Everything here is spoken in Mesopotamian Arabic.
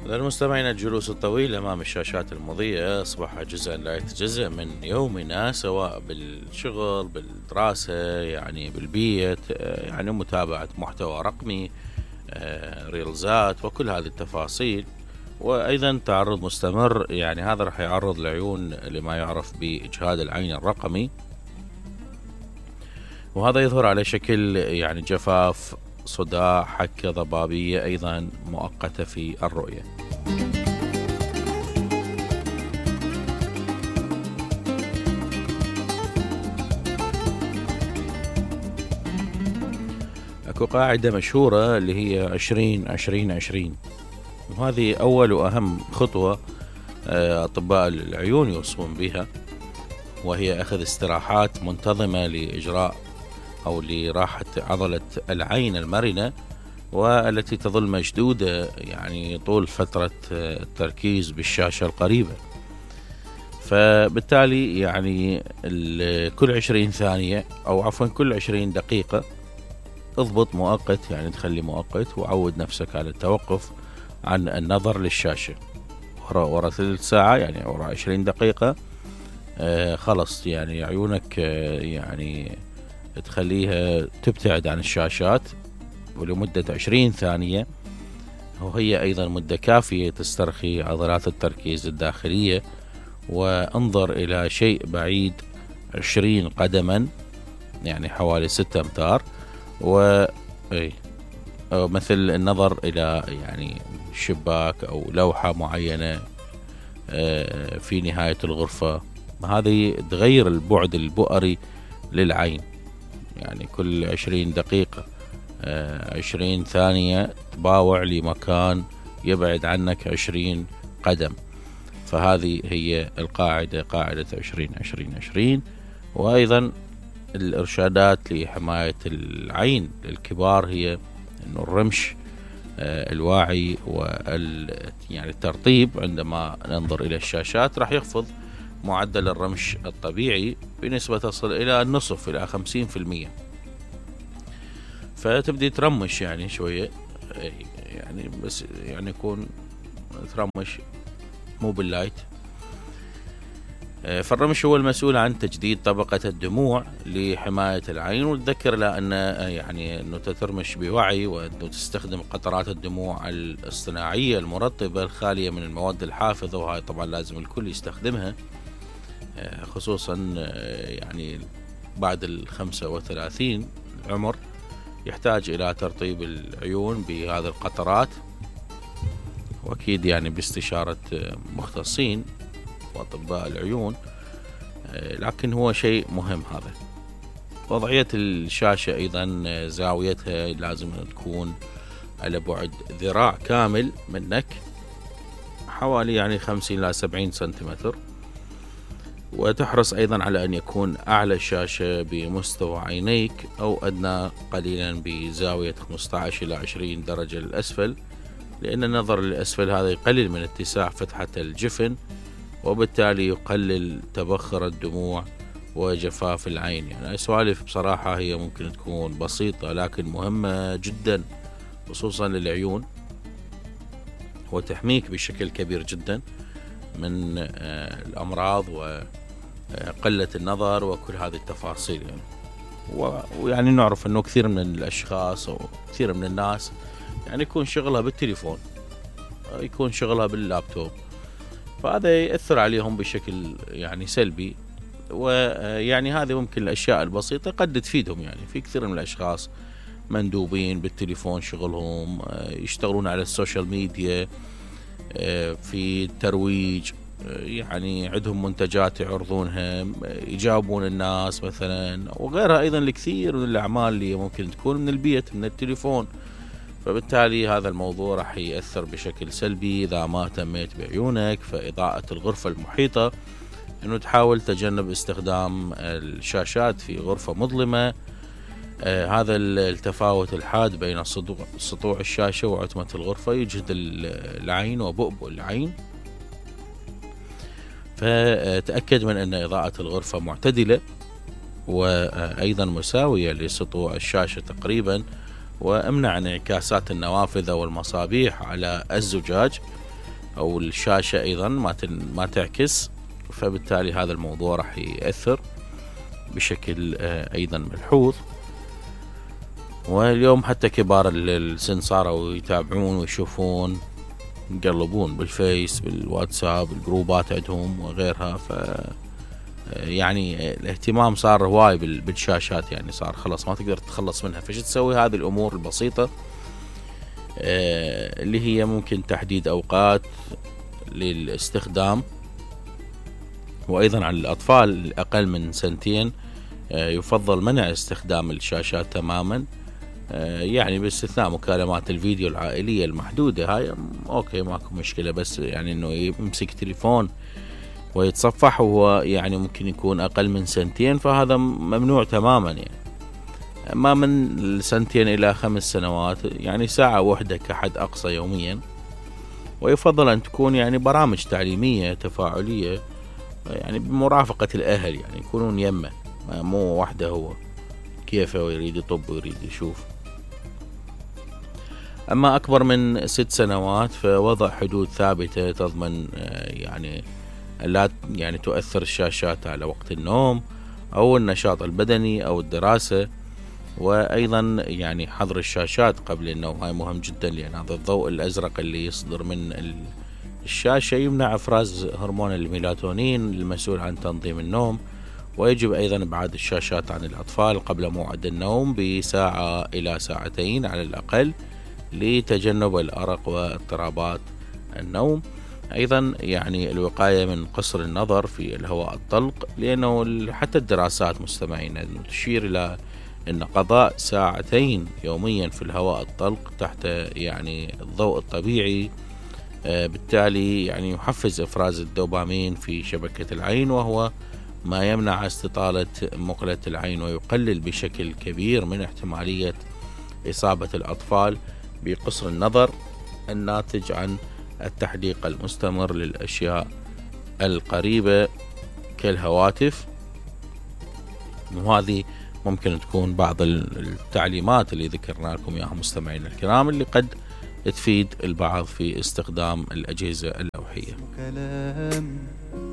للمستمعين، الجلوس الطويل أمام الشاشات المضيئة أصبح جزءا لا يتجزأ من يومنا، سواء بالشغل، بالدراسة، يعني بالبيت، يعني متابعة محتوى رقمي، ريلزات وكل هذه التفاصيل. وأيضا تعرض مستمر، يعني هذا راح يعرض العيون لما يعرف بإجهاد العين الرقمي، وهذا يظهر على شكل يعني جفاف، صداع، حكة ضبابية أيضا مؤقتة في الرؤية. اكو قاعدة مشهورة اللي هي 20-20-20، وهذه أول وأهم خطوة أطباء العيون يوصون بها، وهي أخذ استراحات منتظمة لإجراء أو لراحة عضلة العين المرنة، والتي تظل مشدودة يعني طول فترة التركيز بالشاشة القريبة. فبالتالي يعني كل 20 ثانية أو عفوا كل 20 دقيقة اضبط مؤقت، يعني تخلي مؤقت وعود نفسك على التوقف عن النظر للشاشة. ورا ثلث ساعة، يعني ورا 20 دقيقة خلص يعني عيونك يعني تخليها تبتعد عن الشاشات ولمدة 20 ثانية، وهي أيضا مدة كافية تسترخي عضلات التركيز الداخلية. وانظر إلى شيء بعيد 20 قدما، يعني حوالي 6 أمتار، مثل النظر إلى يعني شباك أو لوحة معينة في نهاية الغرفة. هذه تغير البعد البؤري للعين، يعني كل 20 دقيقة 20 ثانية تباوع لمكان يبعد عنك 20 قدم. فهذه هي القاعدة، قاعدة 20-20-20. وأيضا الإرشادات لحماية العين للكبار هي أنه الرمش الواعي يعني الترطيب عندما ننظر إلى الشاشات راح يخفض معدل الرمش الطبيعي بنسبة تصل إلى النصف، إلى 50%. فتبدي ترمش يعني شوية، يعني بس يعني يكون ترمش مو باللايت. فالرمش هو المسؤول عن تجديد طبقة الدموع لحماية العين. وتذكر لا أن يعني أنه ترمش بوعي، وأنه تستخدم قطرات الدموع الاصطناعية المرطبة الخالية من المواد الحافظة، وهاي طبعا لازم الكل يستخدمها، خصوصا يعني بعد 35 العمر يحتاج إلى ترطيب العيون بهذه القطرات، وأكيد يعني باستشارة مختصين وأطباء العيون. لكن هو شيء مهم هذا. وضعية الشاشة أيضا زاويتها لازم تكون على بعد ذراع كامل منك، حوالي يعني 50 إلى 70 سنتيمتر. وتحرص أيضا على أن يكون أعلى الشاشة بمستوى عينيك أو أدنى قليلا بزاوية 15 إلى 20 درجة للأسفل، لأن النظر للأسفل هذا يقلل من اتساع فتحة الجفن، وبالتالي يقلل تبخر الدموع وجفاف العين. يعني سوالف بصراحة هي ممكن تكون بسيطة لكن مهمة جدا، خصوصا للعيون، وتحميك بشكل كبير جدا من الأمراض وقلة النظر وكل هذه التفاصيل. يعني ويعني نعرف أنه كثير من الأشخاص أو كثير من الناس يعني يكون شغلها بالتليفون، يكون شغلها باللابتوب، فهذا يأثر عليهم بشكل يعني سلبي. ويعني هذه ممكن الأشياء البسيطة قد تفيدهم. يعني في كثير من الأشخاص مندوبين بالتليفون، شغلهم يشتغلون على السوشيال ميديا في الترويج، يعني عندهم منتجات يعرضونها، يجاوبون الناس مثلا، وغيرها أيضا الكثير من الأعمال اللي ممكن تكون من البيت من التليفون. فبالتالي هذا الموضوع راح يأثر بشكل سلبي إذا ما اهتميت بعيونك. فإضاءة الغرفة المحيطة، أنه تحاول تجنب استخدام الشاشات في غرفة مظلمة. هذا التفاوت الحاد بين سطوع الشاشة وعتمة الغرفة يجهد العين وبؤبؤ العين. فتأكد من أن إضاءة الغرفة معتدلة وأيضا مساوية لسطوع الشاشة تقريبا، وامنع انعكاسات النوافذ والمصابيح على الزجاج. أو الشاشة أيضا ما تعكس، فبالتالي هذا الموضوع راح يأثر بشكل أيضا ملحوظ. واليوم حتى كبار السن صاروا يتابعون ويشوفون، يقلبون بالفيس بالواتساب الجروبات عندهم وغيرها. ف يعني الاهتمام صار هواي بالشاشات، يعني صار خلاص ما تقدر تتخلص منها. فش تسوي؟ هذه الأمور البسيطة اللي هي ممكن تحديد أوقات للاستخدام. وأيضا على الأطفال الأقل من 2 يفضل منع استخدام الشاشات تماما، يعني باستثناء مكالمات الفيديو العائلية المحدودة، هاي أوكي ماكو مشكلة. بس يعني إنه يمسك تليفون ويتصفح وهو يعني ممكن يكون أقل من 2 فهذا ممنوع تماما. يعني أما من 2 إلى 5 سنوات يعني 1 ساعة كحد أقصى يوميا. ويفضل أن تكون يعني برامج تعليمية تفاعلية، يعني بمرافقة الأهل، يعني يكونون يمه، مو وحده هو كيفه ويريد يطب ويريد يشوف. أما أكبر من 6 سنوات فوضع حدود ثابتة تضمن يعني لا يعني تؤثر الشاشات على وقت النوم أو النشاط البدني أو الدراسة. وأيضا يعني حظر الشاشات قبل النوم، هاي مهم جدا، لأن هذا الضوء الأزرق اللي يصدر من الشاشة يمنع إفراز هرمون الميلاتونين المسؤول عن تنظيم النوم. ويجب أيضا إبعاد الشاشات عن الأطفال قبل موعد النوم ب1 ساعة إلى 2 ساعات على الأقل لتجنب الأرق واضطرابات النوم. أيضا يعني الوقاية من قصر النظر في الهواء الطلق، لأنه حتى الدراسات مستمعين تشير إلى أن قضاء 2 ساعات يوميا في الهواء الطلق تحت يعني الضوء الطبيعي بالتالي يعني يحفز إفراز الدوبامين في شبكة العين، وهو ما يمنع استطالة مقلة العين ويقلل بشكل كبير من احتمالية إصابة الأطفال بقصر النظر الناتج عن التحديق المستمر للأشياء القريبة كالهواتف. وهذه ممكن تكون بعض التعليمات اللي ذكرنا لكم إياها مستمعين الكرام، اللي قد تفيد البعض في استخدام الأجهزة اللوحية.